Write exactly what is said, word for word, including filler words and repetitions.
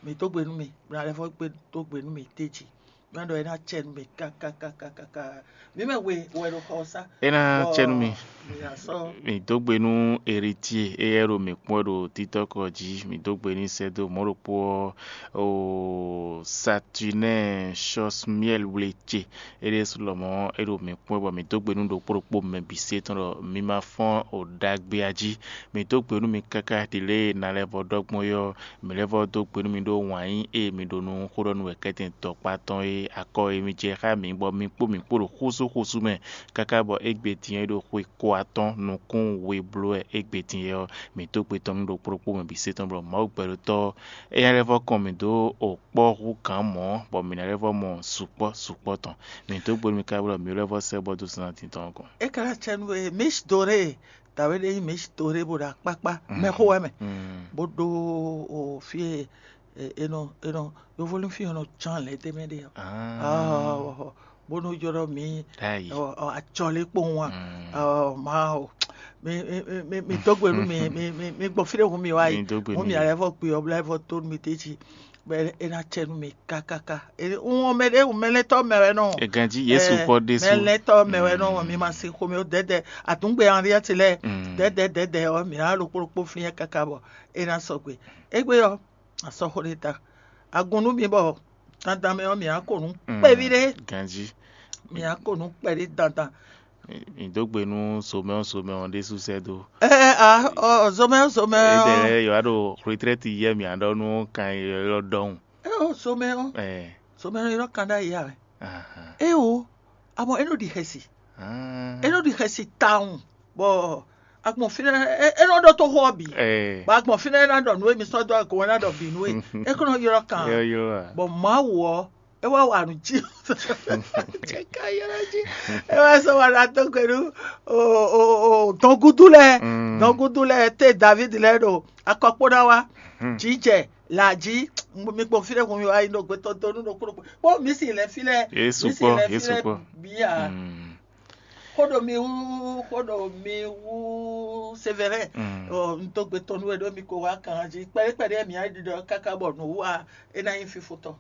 Mi dó gbe nú mi, mi ná lɛ́ vɔ́ gbe dó gbe nú mi téji. Má ɖɔ é ná cɛ nú mi kákákákáká. Mǐ mɛ we wɛ ɖo xɔ ɔ́ sá. É ná cɛ nú mi. Mi ná sɔ́. Mi dó gbe nú Eritier, éyɛ́ ɖo mǐ kpɔ́n wɛ ɖo títɔ́kɔ jí. Mi dó gbe n'i sɛ́ dó mɔ̌ ɖokpó ɔ́, o Saturnin Chosmiel wle ce. É ɖésú lɔmɔ̌ é ɖo mǐ kpɔ́n wɛ bɔ mǐ dó gbe nú ɖokpó ɖokpó mɛ bǐ se tɔn ɖɔ mi ma fɔ́n o ɖagbe jí. Mi dó gbe nú mi káká ɖi lě e ná lɛ́ vɔ ɖɔ gbɔn é ɔ́, mǐ lɛ́ vɔ dó gbe nú mi ɖó wǎn yí e mi ɖo nú xó ɖɔ nú wɛ kɛ́tɛn dɔkpá tɔn e akɔ e mi jɛ xá mǐ bɔ mi kpó mǐ kpó ɖo xúsúxúsú mɛ, káká bɔ égbé din ɔ́ é ɖo xwe ko atɔ́n nukún we bló wɛ égbé din é ɔ́, mǐ dó gbe tɔn nú ɖokpó ɖokpó mɛ bǐ se tɔn bɔ Mawu gbɛɖótɔ́ ɔ́, é ná lɛ́ vɔ kɔn mǐ dó o kpɔ́ hú gǎn mɔ̌, bɔ mǐ ná lɛ́ vɔ mɔ sukpɔ́ sukpɔ́ tɔn. Mǐ dó gbe nú mi káká bɔ mǐ lɛ́ vɔ sɛ́ bɔ dó zan din tɔn gɔ́n. É ka ná cɛ nú we, Miss Doré, dǎwe ɖé nyí Miss Doré bó ɖo akpákpá, mɛxó wɛ mɛ, bó ɖó o fí e e- e nɔ e nɔ yovolúnfí ɔ́ nɔ cán lɛ̌ tɛ́ mɛ ɖe ɔ́. Ah, bó nɔ jɔ ɖɔ mǐ Ɖ'ayǐ. Acɔlí kpowun a? Mawu, mi mi- mi- mi dó gbe nú mi mi mi- mi gbɔn fí ɖé hun mi wá yi. Mi dó gbe Hun nú mi yě. Alɛ vɔ kpi ɔ́ bla vɔ tó nú mi téji, bɔ é ná cɛ nú mi kákáká. Wọ́n mɛ ɖé wọ́n mɛ lɛ́ tɔ́ mɛ wɛ nɔ. Ègànjí Yésu kpɔ́ ɖésú. Mɛ lɛ́ tɔ́ mɛ wɛ nɔ, mi ma se xomɛ ó dɛdɛ, àtúngbè anriɛ́ti lɛ́ɛ dɛdɛ dɛdɛ ɔ́, mǐ ná ɖo kpóɖokpó flín ɛ káká bɔ é ná sɔgbe. Égbé ɔ́, asɔxo ɖé ta. Agun nú mi bɔ dandan mɛ ɔ́, mǐ ná ko nǔ kpɛví ɖé. Ganjí. Mǐ ná ko nǔ kpɛví dandan. Mǐ dó gbe nú somɛ ɔ́, somɛ ɔ́ ɖésú sɛ́ dó. Ɛ a ɔ zomɛ ɔ́ zomɛ Édɛɛ ɔ́. Lɛ́ɛ yǒ wá ɖo retrɛ́ti yɛ mǐ ná ɖɔ nú kan élɔ́ ɖɔhun. Ɛ o zomɛ ɔ́ Ɛ zomɛ ɔ́ ylɔ́ kan ɖ'ayǐ ǎ. Ahan. É o, amɔ é nɔ ɖi xɛsi. Ah. É nɔ ɖi xɛsi tawun. Bɔ agbɔn fínɛ́ é nɔ ɖɔ tó xó ɔ́ bǐ. Ɛ. Bɔ agbɔn fínɛ́ é ná ɖɔ nǔ e mi sɔ́ dó agun ɔ́, é ná ɖɔ bǐ nú we. É kó nɔ ylɔ́ kan. Yɔ yɔ a. Bɔ Mawu ɔ́, é wá wa nǔ jí. Cɛka ylɔ́ jí. É wá sɔ́ wa ɖo atɔ́ gbe nú o o o dɔngúdú lɛ́ɛ. Mm. Dɔngúdú lɛ́ɛ té David lɛ́ɛ ɖo akɔkpó ná wá. Jǐjɛ lǎjí. Mi kpɔn fínɛ́ hun mi wá yi ɖo gbɛtɔ́ dó nú ɖokpó ɖokpó. Kpɔ́n mi si lɛ́ fí lɛ́ɛ. Yě mi si sukpɔ́, lɛ́ yě fí lɛ́ɛ sukpɔ́. Bíyà. Mm. Xó ɖo mi wú, xó ɖo mi wú Sévérin. Mm. Ɔ, un dó gbe tɔn nú we ɖó mi ko wá kan jí. Kpɛɖé kpɛɖé mi á ɖiɖɔ káká bɔ nǔ wú a, é ná nyí fífó tɔn.